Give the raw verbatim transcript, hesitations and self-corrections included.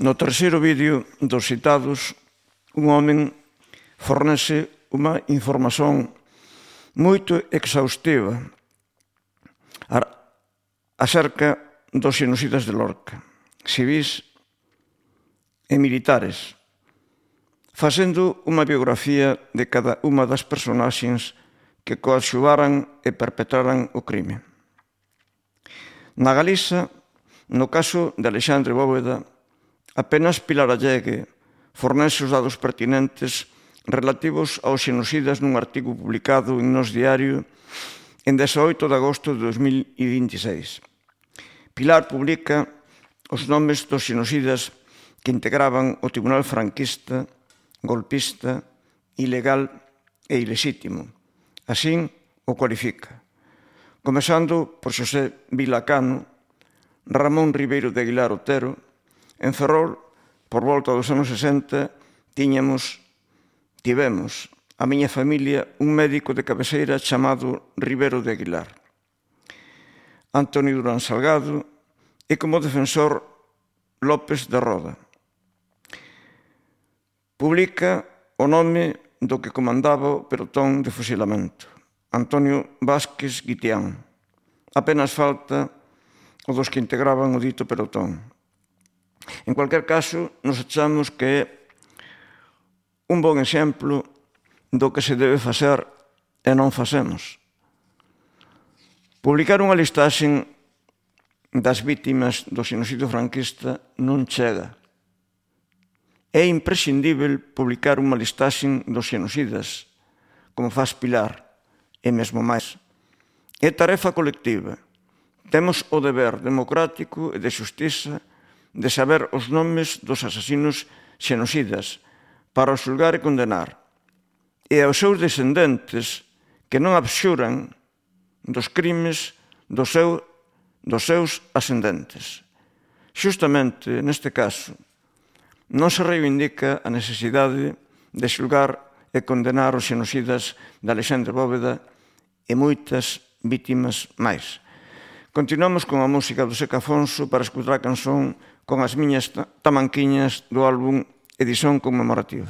No terceiro vídeo dos citados, un home fornece unha información moito exhaustiva acerca dos xenocidas de Lorca, civís e militares, facendo unha biografía de cada unha das personaxes que coadxuvaran e perpetraran o crime. Na Galiza, no caso de Alexandre Bóveda, apenas Pilar Allegue fornece os dados pertinentes relativos aos xenocidas nun artigo publicado en Nós Diario en dezaoito de agosto de dos mil vinte e seis. Pilar publica os nomes dos xenocidas que integraban o Tribunal franquista, golpista, ilegal e ilexítimo. Así o cualifica, comezando por Xosé Vilacano, Ramón Ribeiro de Aguilar Otero. En Ferrol, por volta dos anos sesenta, tiñamos, tivemos, a miña familia, un médico de cabeceira chamado Ribeiro de Aguilar. Antonio Durán Salgado e como defensor López de Roda. Publica o nome do que comandaba o pelotón de fusilamento, Antonio Vázquez Guitián. Apenas falta o dos que integraban o dito pelotón. En cualquier caso, nos achamos que é un bon exemplo do que se debe facer e non facemos. Publicar unha listaxe das vítimas do xenocidio franquista non chega. É imprescindível publicar unha listaxe dos xenocidas, como faz Pilar, e mesmo máis. É tarefa colectiva. Temos o deber democrático e de xustiza de saber os nomes dos asasinos xenocidas para os xulgar e condenar, e aos seus descendentes que non abxuran dos crimes dos, seu, dos seus ascendentes. Xustamente neste caso, non se reivindica a necesidade de xulgar e condenar os xenocidas de Alexandre Bóveda e moitas vítimas máis. Continuamos con a música do Seca Afonso para escutar a canción Con as miñas tamanquiñas do álbum Edición Conmemorativa.